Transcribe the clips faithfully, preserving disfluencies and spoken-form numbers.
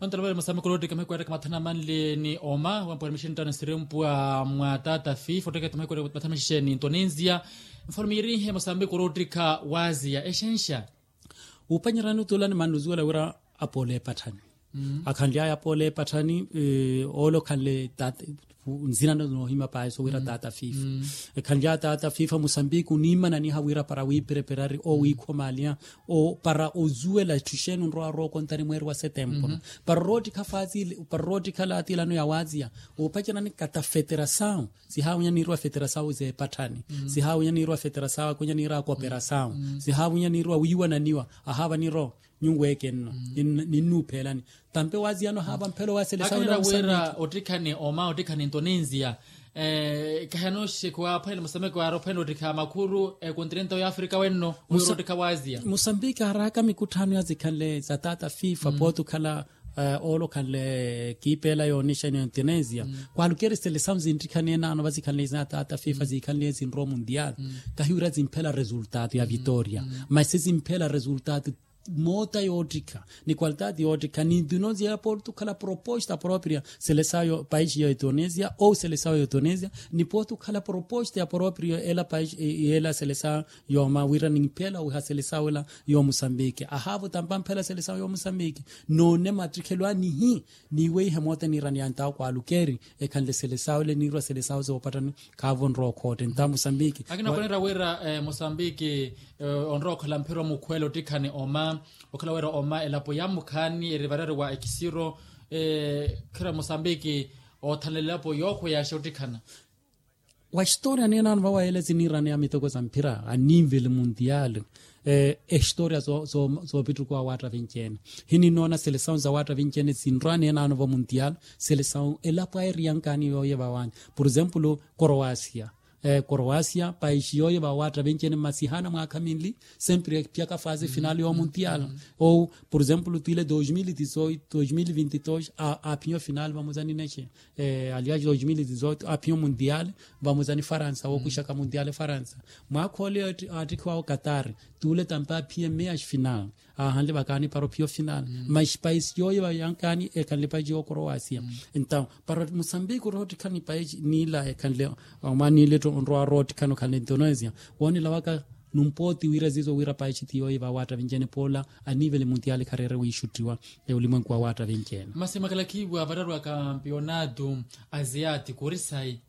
Vantalavale mosambiki oloottikha mahiku yaattakha mathana manli ni oma wampwari mixini ttano sirempwa mwa taata fifa ottekete mahiku yaattakha mathana mixixeni ntonenzia. Mfalume yirihe mosambiki oloottikha waziya exenxa. Uphwanyerani otuula ni mannuzuwela wira apoola epatthani. Akhanly'aya apoola epatthani. Oole okhanle nzinano noohima paahi sowira taata fifa. Ekhanly'aya taata fifa mosambiki oniimananiha wira para wiipereperari owiikhomaaliha para ozuwela etthu exeeni onrowa arookontari mweeri wa setempuru. Para oroottikha faatile para oroottikha latilano ya waziya. Uphwanyerani kata feterasawu sihaawinya niiriwa feterasawu z'epatthani. Sihaawinya niiriwa feterasawu akwinya niiriwa kooperasawu. Sihaawinya niiriwa wiiwananiwa ahaava niiro nyuweeke nno. Ninnuuphelani tampe waaziyano ahaava mphelo wa selesawu. Wira ottikhani oma ottikhani ntonenzia kahi anooxekhuwa aphwene mosambiki waari ophwene ottikha makhuru ekontinenta ya afrika wenno. Wira ottikha waaziya mosambiki aaraka mikutthano yazikhanle za taata fifa pooti okhala oole okhanle kiipeela yoonixa ni ontonenzia. Kwaalukeri selesawu zinttikhani enaano vazikhanle za taata fifa zikhanle zinrowa mundial kahiwira zimphela resultado ya vitoria. Masi zimphela resultado moota yoottikha ni qualitati yoottikha ni ntino ziya pooti okhala proposta propria selesawu paixi ya intonezia ou selesawu ya intonezia ni pooti okhala proposta ya propria ela paixi ela selesawu yooma wira nimphela owiha selesawu ela yoomusambiki ahaavo tampa mphela selesawu yoomusambiki. Noone mattikhelo anihi niiweihe moota niirani yantawo kwaalukeri ekhanle selesawu ele niirwa selesawu zoopatthani. Khaavo onrowa okhootte nta mosambiki akina okonera wira mosambiki onrowa okhala mphira omukhwela ottikhani oma okhala wira oma elapo ya mukhaani eri varari wa ekisiro khira mosambiki oothanlela elapo yookhweyaxa ottikhana. Wa historia neenaano vawa ele ziniirani ya mitoko za mphira a nivel mundial. Ehistoria zoopittukuwa awaatta vinci-ene hininoona selesawu za awaatta vinci-ene sinrwa neenaano va mundial. Selesawu elapo ayi eriyankaani yooye vawani por exemplo koroasia. Koroasia paixi yooye vawaatta vinci-ene masi haana mwaakha minli sempre ephiyaka fase final yoomundial. Ou por exemplo twiile dos mil e dezoito dos mil e vinte e dos aaphinya ofinal vamuzani nexe alias dos mil e dezoito aaphinya omundial vamuzani faransa wookuxaka mundial faransa. Mwaakha ole aattikhiwawo katari tuule tampa aphiye meas final aahanle vakaani para ophiya ofinal. Mas paisi yooye vayankaani ekhanle paisi yookorowa asia. Entaw para musambiki oroottikhani paisi niila ekhanle omwaani ile onrowa oroottikhani okhanle indonesia woonela waka numpooti wira zizo wira paisi ti yooye vawaatta vinci-ene poola anivele mundial khareere wiixuttiwa. Ulimwenku wawaatta vinci-ene masi mwakhala khiiwa vararwa kampionato asiatiko ori sayi.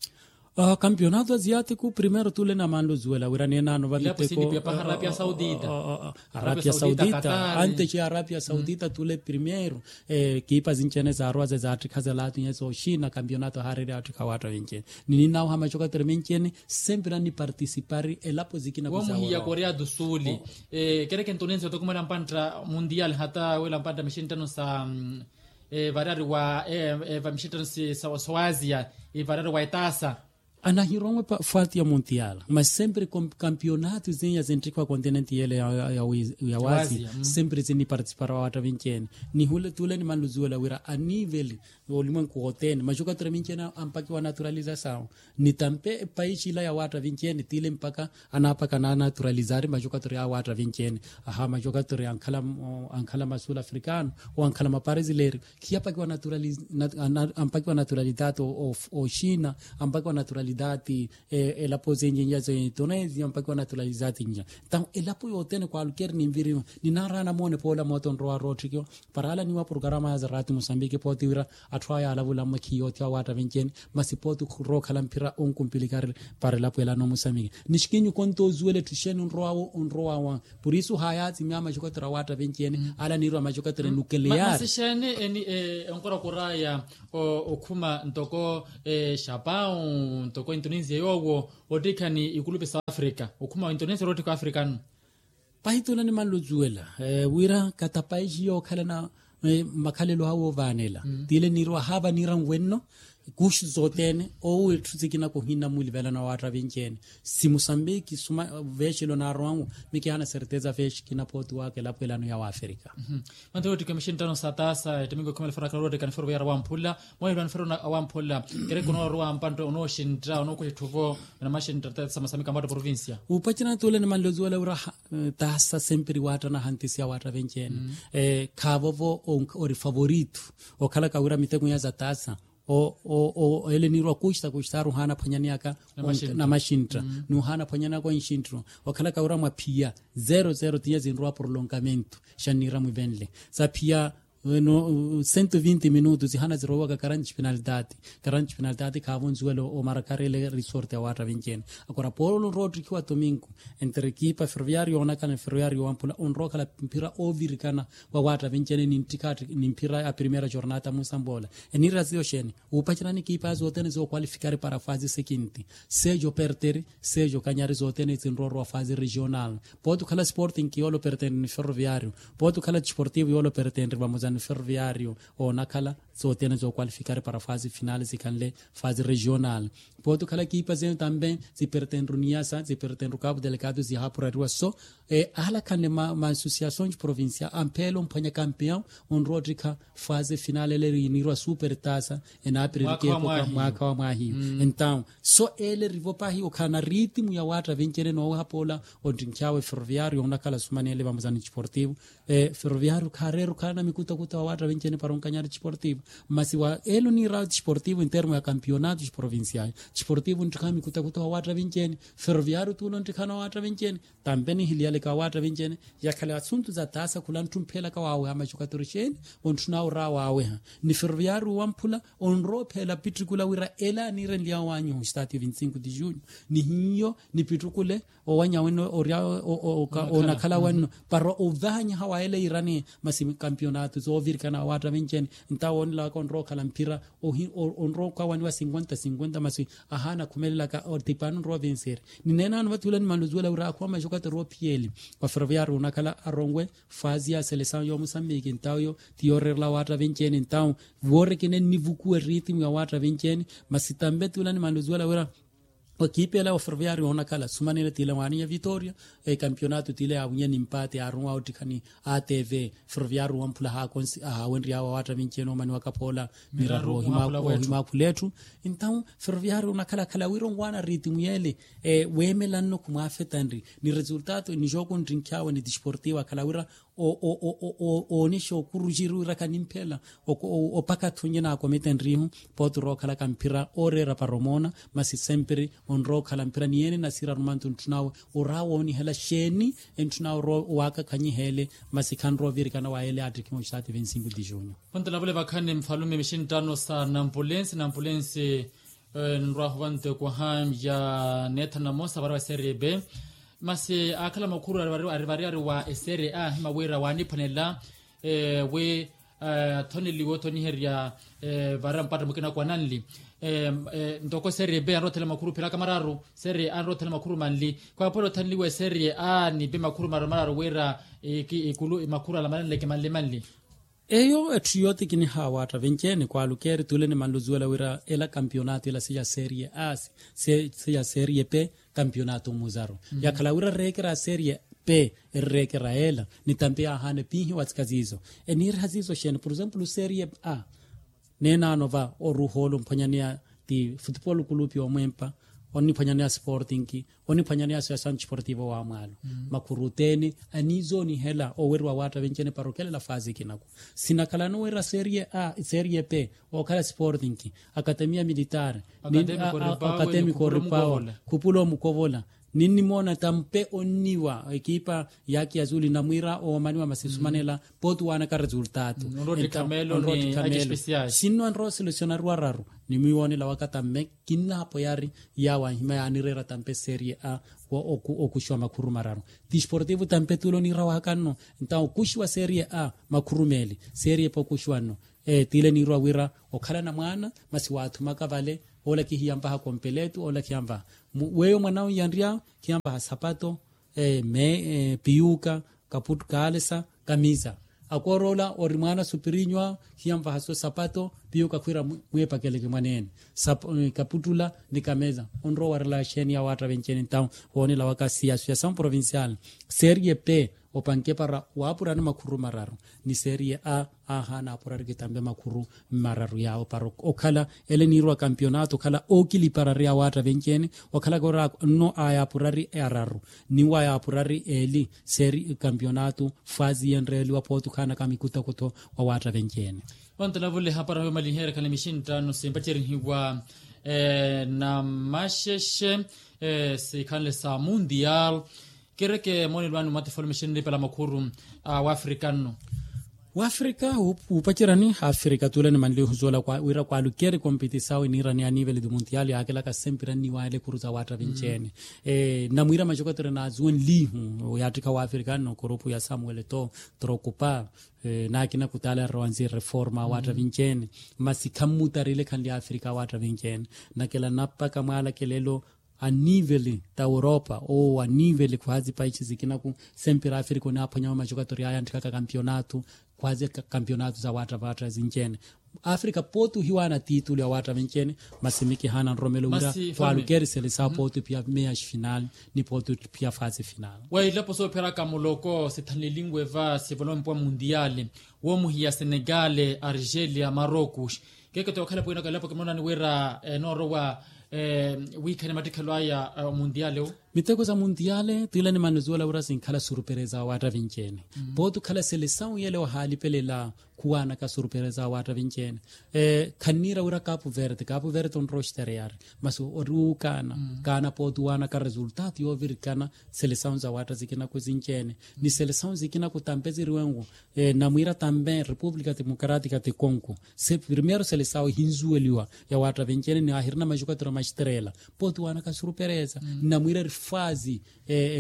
Kampionato asiatiko primeiro tule na manluzuwela wira neenaano vamiteko arapia saudita. Arapia saudita antes ya arapia saudita tule primeiro ekipa zinci-ene zaarwa ze zaattikha zalatinye zooxina kampionato ahaarerya attikha awaatta vinci-ene. Nininauha macokatere menci-ene sempre nanipartisipari elapo zikina womuhiya korea do suli. Kereke ntonensi otokumela mpantta mundial hata wela mpantta mixinttano sa varari wa vamixitano sawazia ivarari wa etaasa. Anahironwe fati ya mundial mas sempre kampionato zinya zinttikhiwa continente yele ya wazia sempre zinipartisipara awaatta vinci-ene. Nihule tule nimanluzuwela wira anivele olimwenku wothene majokatori minci-ene ampakiwa naturalizasawu. Ni tampe epaixi ila ya waatta vinci-ene tile mpaka anaapaka anaanaturalizari majokatori a waatta vinci-ene. Aha majokatori ankhala ma sul africano ou ankhala ma parisileri khiyapakiwa naturalizasawu ampakiwa naturalidade oxina ampakiwa naturalidade elapo zinci nja za indonesia ampakiwa naturalidade nja. Entawu elapo yothene kwalukeri ninviriwa ninaraana moone poola moota onrowa roottikiwa. Para alaniwa programa ya za rati musambiki pooti wira atthu aya alavula mmwe khiyoothiwa awaatta vinci-ene. Masi pooti khurokhala mphira onkumpilikari para elapo elano musambiki nixkinyuka ontoozuwela etthu exeeni onrowawo onrowawa. Por isu hayaatsimya amajokatori awaatta vinci-ene alaniirwa amajokatori nukeleyari. Masi exeeni eni onkorakoraya okhuma ntoko xapau ntoko indonesia yoowo ottikhani ikulupe sa afrika okhuma indonesia oroottikha afrikano. Pahi tuna nimanluzuwela wira kata paixi yookhalana makhalelo awe ovaanela tile niiriwa haava niira nwenno. Kuxu sothene owo etthu sikina kuhina mulivelano wa waatta vinci-ene. Si musambiki suma veexilo naarowa-nwo. Mikihana serteza veexi kina pooti waka elapo elano ya waafrika. Manthe woottiki mixinttano sa taasa ettimingo ekhumela fara kala woottiki anifero veyara wamphula. Mwahiru anifero wamphula. Kereke onooruwa mpantte onooxintta onookuxa etthu vo. Namaxintta taasa masamika mwatta provincia. Upacerana tuule nimanle ozuwela wira taasa sempiri waatta nahantisiya waatta venci-ene. Khaavovo ori favorito okhalaka wira miteko iya za taasa. Ele niirwa kuxita kuxita ari ohaana aphwanyaneyaka namaxintta. Ni ohaana aphwanyaneyaka onxinttiro okhalaka wira mwa phiya zero zero tinya zinrowa porlongamento. Xanniira mwivenle za phiya sento vinti minutu zihana zirowaka karanti xipinalitaati. Karanti xipinalitaati khaavo nzuwela omarakari ele risorte ya waatta venci-ene. Akora polo onrowa ottikhiwa tomingo entre ekipa ferroviario yoonakhala ni ferroviario wamphula onrowa okhala mphira oovirikana wa waatta venci-ene ni nttikha ni mphira ya primera jornata musambola. Eniira ziyo xeeni? Upacerani ekipa zothene zookwalifikari para fasi sekinti. Sejo perteri sejo kanyari zothene zinrowa orowa fasi regional. Pooti okhala sporting yoole operteri ni ferroviario. Pooti okhala disportivo yoole operteri vamoza ni ferroviario. Oonakhala sothene zookwalifikari para fasi finale zikhanle fasi regional. Pooti okhala ekipa zene tambe zipertenru niyasa zipertenru kapu delegado zihaapurariwa so. Ahalakhanle ma associações provincial ampheela omphwanya campeão onrowa ottikha fase final ele eniirwa super tasa enaapiririke epoka mwaakha wa mwahiyo. Entaw so ele erivo pahi okhala na ritimu ya waatta venci-ene nooweha poola ontinkhy'awe ferroviario onakhala sumanele vamoza ni disportivo. Ferroviario khaareera okhala na mikutakuta wa waatta venci-ene para onkanyari disportivo. Masi wa ele oniir'awe disportivo entermo ya campeonato provincial disportivo onttikhawe mikutakuta wa waatta venci-ene. Ferroviario tuula onttikhawe na waatta venci-ene. Tampe nihiliyaleka wa waatta venci-ene yakhala asuntu za taasa khula ntthumpheyelaka waaweha maxukatori xeeni? Ontthun'awe or'awe waaweha ni ferroviario wamphula onrowa opheela pittukula wira ele aniirenly'awe owanyiha ostadio vinti cinco de junho. Ni hiyo nipittukule owanyiha wenno orya oonakhala wenno para ovahanyiha wa ele yiirani. Masi kampiyonato zoovirikana wa waatta venci-ene ntawo woonelaka onrowa okhala mphira onrowa okawaniwa cinquenta cinquenta masi ahaana akhumelelaka otipani onrowa ovenseeri. Ni neenaano vathi ula nimanle ozuwela wira akhuwa maxukatori ophiyeli wa ferroviario onakhala aronwe fasi ya selesawu yoomusambiki ntawo yo ti yooreerela waatta venci-ene ntawo. Woorikine nnivukuwa eritimu ya waatta venci-ene. Masi tampe ti ula nimanle ozuwela wira ekipa ela wa ferroviario yoonakhala sumanene tile waaninya vitoria. Ekampiyonato tile yaawinya ni mpate yaaronwa ottikhani atv. Ferroviario wamphula haakonsi ahaawenry'awe wa waatta venci-ene oomaniwaka poola miraru ohimaakhula etthu. Entaw ferroviario onakhala khala wira onwaana ritimu yeele weemelanno khumwaafetanri ni resultato ni jooko nttinkhy'awe ni disportivo akhala wira oonexa okuruxiri wira khanimphela opaka thunye naakomitenrihu. Pooti orowa okhalaka mphira ooreera para omoona masi sempiri onrowa okhala mphira ni yeene nasiira arumantu ntthun'awe or'awe oonihela xeeni? Entthun'awe or'awe owakakhanyihele masi khanrowa ovirikana wa ele aattikhiwa ostadio vinti cinco de junho. Pontela vule vakhani mfalume mixinttano sa nampulensi nampulensi. Nrwahu vanteko haya neethana namosa varewa eserie b. Masi aakhala makhuru ari variyari wa eserie a ahima wira waaniphwanela wi athoneliwe othoniherya varewa mpatta mukina kwananli. Ntoko eserie b anrothela makhuru phiraka mararu. Serie a anrothela makhuru manli khwaaphwela othoneliwe eserie a ni b makhuru mararu mararu wira ikulu makhuru ala mananleke manli manli. Eyo etthu yooti kiniha waatta venci-ene kwalukeeri tule nimanle ozuwela wira ela kampiyonato ela siya serie a siya serie p. Kampiyonato muzaru yakhala wira ereekera a serie p erereekera ela ni tampe yaahaana epiihiwa tsika ziizo. Eniiriha ziizo xeeni por exemplo serie a neenaano va oruha ole omphwanyaneya ti futupolo kulupi omwempa oniphwanyaneya sporting oniphwanyaneya associação desportivo wa mwaalo. Makhuru othene aniizoonihela oweriwa waatta venci-ene para okhelela fasi kinaku sinakhalano wira serie a serie p okhala sporting akatemiya militare akatemi koripawa khupula omukovola ninnimoona tampe onniwa ekipa yaki yazuli namwiira oomaniwa masi sumanela pooti waanaka resultato. Onrowa ottikhamelo sinno anrowa selesionariwa araru ni mwiiwoonela waka tamme kinnaapweyari yaawo anhima yaanireera tampe serie a okuxiwa makhuru mararu. Disportivo tampe tule oniira wakanno ntawo okuxiwa serie a makhuru meeli serie p okuxiwa nno. Tile niirwa wira okhalana mwaana masi waathumaka vale oolakihiya mpaha kompeletu oolakihiya mpaha weyo mwan'awe yanry'awe khiya mpaha sapato me piyuka kaputu kaalesa kamisa. Akoor'ola ori mwaana supirinywa, hiyanvahasi osapato piyo kakhwira mwiipakeleke mwaneene. Kaputtula ni kameza onrowa warela axeeni ya waatta venci-ene ntawu woonela waka siyasu ya são provincial. Seeriye pe opanke para waapurani makhuru mararu, ni seeriye a aahaana apurari kitampe makhuru mararu yaawo para okhala ele niirwa kampionato okhala ookiliparari ya waatta venci-ene. Okhalaka ori nno aya apurari araru ni waya apurari eeli. Seeri kampionato faazi yenreeliwa pooti okhaanaka mikutakutho wa waatta venci-ene. Ontelavule hapara hoyo maliheerekhana mixinttano simpacerihiwa na maxexe sikhanle sa mundial. Kireke moonelo anu mwatifolo mixinripela makhuru a wafrika nno. Wafrika wuupacerani hafrika tuule ni manlihu zuwela wira kwalukeri kompitisawu iniirani ya nivele di mundial yaakelaka sempira nniwaayela ekhuru za waatta vinci-ene. Namwiira maxokotero naazuwenlihu yaattikha wafrika nno kurupu ya samuel to trokupa. Naakina kutaala yarowa nsi reforma awaatta vinci-ene. Masi khammutarile khanle ya afrika awaatta vinci-ene. Nakela napaka mwaalakelelo a nivele ta europa owo a nivele khwaazi paixi zikinaku. Sempira afrika onaaphwanya wa maxokatori aya antthikaka kampionato khwaazi kampionato za waatta vinci-ene. Afrika pooti ohiwaana titulu ya waatta vinci-ene. Masi mikihaana nromelo wira kwaalukeri selesawu pooti ophiya meya xfinal ni pooti ophiya faazi final. Wa ilapo soopheraka muloko sithanlelinwe va sivolompo wa mundial woomuhiya senegale argelia marocos. Keketo yookhala pwiinaka ilapo kimoonani wira enoorowa wiikhane mattikhelo aya omundial owo. Miteko sa mundial tiila nimanle zuwela wira sinkhala surupereza awaatta vinci-ene. Pooti okhala selesawu yele wahaalipelela khuwaanaka surupereza awaatta vinci-ene. Khanniira wira kapu verde kapu verde onrowa oxtereyari masi ori wuukaana kaana pooti owaanaka resultato yoovirikana. Selesawu za waatta zikinaku zinci-ene ni selesawu zikinaku tampe ziriwenku. Namwiira tampe repupulika democratika de congo se primeiro selesawu ehinzuweliwa ya waatta vinci-ene ni ahirina maxukatiro maxterela. Pooti owaanaka surupereza namwiira eri faazi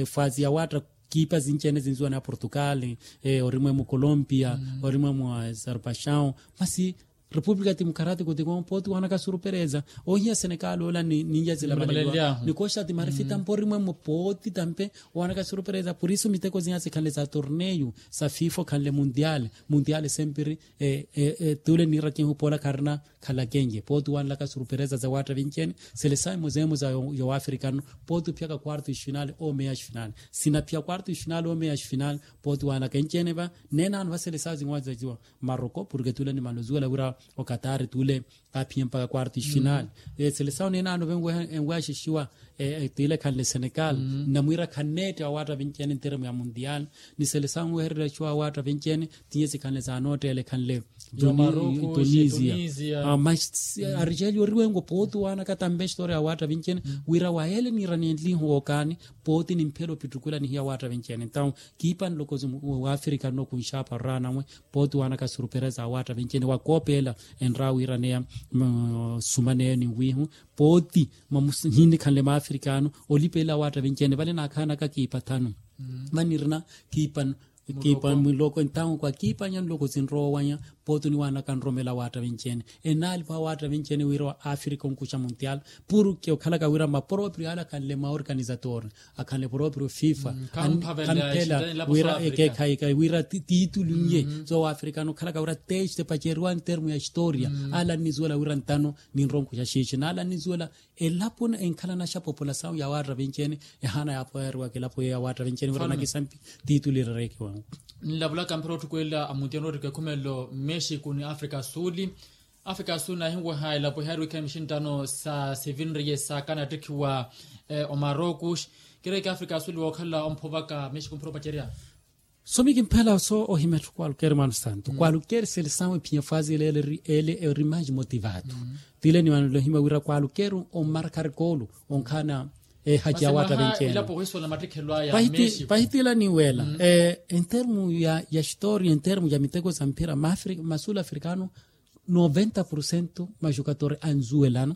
faazi ya waatta kiipa zinci-ene zinzuwani a portugal orimwe mu colombia orimwe mu azerbaixaw masi repupulika democratika de congo pooti owaanaka surupereza. Ohiya senekali ola ni nyazilamaleliwa ni koxati marifita mporimwe mu pooti tampe owaanaka surupereza purisu miteko zinya sikhanle za torneyu sa fifa okhanle mundial. Mundial sempiri tuule niirakihu poola kharina khalakenye pooti owaanlaka surupereza za waatta vinci-ene. Selesawu imozeemo za yo waafrika nno pooti ophiyaka quarto ixfinal omeya ixfinal sinaphiya quarto ixfinal omeya ixfinal. Pooti owaanlaka enci-ene va neenaano va selesawu zinwazaciwa maroko porke tuule nimanle ozuwela wira okatari tuule aphiye mpaka quarto ixfinal. Selesawu neenaano venweya enweya xixiwa tiile khanle senegal namwiira khanneette awaatta vinci-ene nteremu ya mundial ni selesawu enwehererya xixiwa awaatta vinci-ene. Tinye sikhanle za nootteele khanle tunisia. Argeli oriwenko pooti owaanaka tampe xitoriya awaatta vinci-ene wira wayeele niiranenlihu wookaani pooti nimphela opittukula nihiya awaatta vinci-ene ntawu kiipa nlokozi wafrika nno kunxaapa oraanamwe. Pooti owaanaka surupereza awaatta vinci-ene wakoopeela enraawa wiiraneya sumaneyo ninwiihu pooti mamuhinikhanle maafrikaano olipelela awaatta vinci-ene vale naakhaanaka kiipa thanu. Mani nirina kiipa kiipa muloko entawu kwa kiipanya nloko sinrowanya. Pooti oniwaanaka nromela awaatta vinci-ene enaalipa awaatta vinci-ene wira wa afrika onkuxa mundial porke okhalaka wira mapropriyo ale akhanle maorganizator akhanle propriyo fifa khamphela wira ekeekhayi wira titulu nye. So waafrikano okhalaka wira teste paceriwa ntermu ya historia ale annizuwela wira ntano ninronkuxa xiixi naale annizuwela elapo enkhalana xa populasawu ya waatta vinci-ene. Ehaana yaapoyariwaka elapo yeyo ya waatta vinci-ene wira nakisampi titulu irerekiwanku. Nlavulaka mphira otthukwela amuntiano orika ekhumelelo mmexico ni afrika suli. Afrika suli naahinweha elapo ehaari wiikhala mixinttano sa sivinriye saakana attikhiwa omarocos. Kireke afrika suli wookhala omphovaka mmexico mphira opacerya. So mikimphela so ohima etthu kwalukeri mwaano santo kwalukeri selesawu ephiya faazi ele ele eri mais motivado. Tiile niwanelo ohima wira kwalukeri omarkari koolu onkhaana ehaci ya waatta vinci-ene. Pahitiila niweela entermu ya historia entermu ya miteko sa mphira ma sul afrikano noventa porcento maxukatori anzuwelana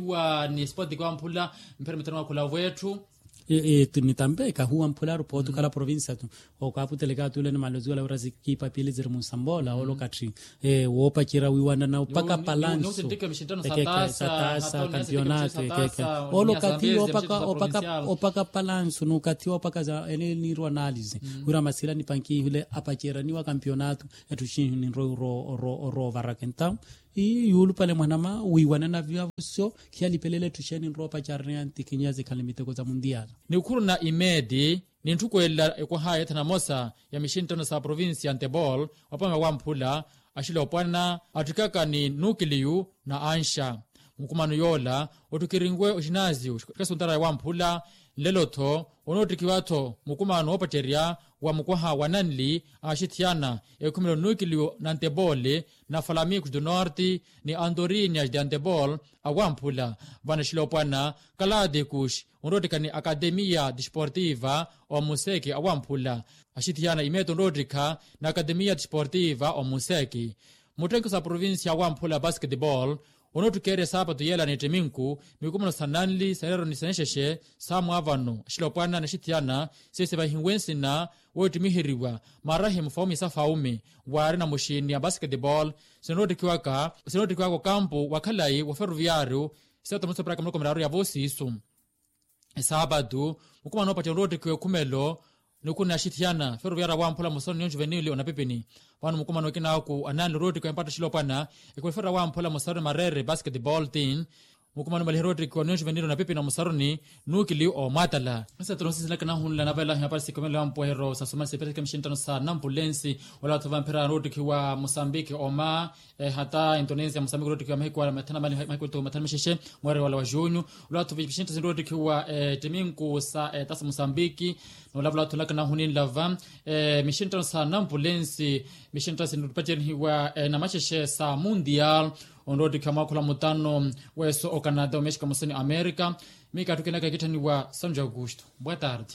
ohiwa ni sport kwa mphula. Mpira mitano wakhula wetthu. Nitampe kahuwa mphularu pootukhala provincia tu. Okaputeleka atule ni maloziwala wira zikipa pili ziri munsamboola olo kathi woopacerya wiiwanana opaka palansu. Satasa kampionatu ekeke olo okathi opaka palansu n'ukathi opaka za ene niirwa analize wira masila nipankihile apaceraniwa kampionatu. Etthu xinhi ninrowa oroova rakenta. Ii yuulupale mwanama wiiwanana vivavosyo khiyalipelele etthu xeeni nroopaceraniya ntikinyazi khali miteko za mundiala. Nikhuruna imeeti nintthukwelela ekwaha yeetha namosa ya mixinttano sa provincia ya ntebol wapamela wamphula axilopwana atthikaka ni nuukiliyu na anxa. Mukumano yoola otthukirinwe oxinaaziyu kasuntaraya wamphula nlelo-tho onoottikhiwa-tho mukumano woopacerya wa mukwaha wa nanli axithiyana ekhumelo nuukiliyu na ntebol na falamikus du norte ni antorinyas de antebol awamphula vano axilopwana kalatikux onroottikha ni akatemiya disportiva omuseki awamphula. Axithiyana imeeti onroottikha ni akatemiya disportiva omuseki. Muttenkho sa provincia awamphula basketball onoottukeerya saapatu yeela ni ettiminku mikumono sa nanli sa ereero ni sa enxexe saamwaavano axilopwana ni axithiyana sisi vahihiwe nsina woottimiheriwa marahi mufaume sa faume waari na muxiini ya basketball sinoottikiwaka sinoottikiwaka okampu wa khalayi wa ferroviario. Sitato musa paraka muloko miraru ya voosiisu esaapatu mukumano woopacerya onroottikiwa ekhumelo. Nikuna axithiyana ferroviario awamphula musaruni ni onjuvenili onapipini vano mukumano ekinaaku ananli onroottikiwa empatta axilopwana ekhumelo ferroviario awamphula musaruni mareere basketball tin mukumano maliha onroottikiwa ni onjuvenili onapipini omusaruni nuukili omwatala. Nsetelo nsisilaka nahunla navela hiyapari sikomelo ya mpuwehero sa sumana sipeteke mixinttano sa nampulensi. Olatho vamphira onroottikiwa musambiki oma hata indonesia musambiki onroottikiwa mahiku ala mathana mali mahiku eto mathana mixexe mweerero wala wa junyu. Olatho vipixinttano sinroottikiwa ettiminku sa etasa musambiki. Noolava olatho olaka nahuninlava mixinttano sa nampulensi mixinttano sinroottikiwa na maxexe sa mundial onroottikiwa mwaakha ola mutano weeso ocanada omexico musoni america. Miikatthi okinaka ekitthaniwa sanjo augusto boa tarde.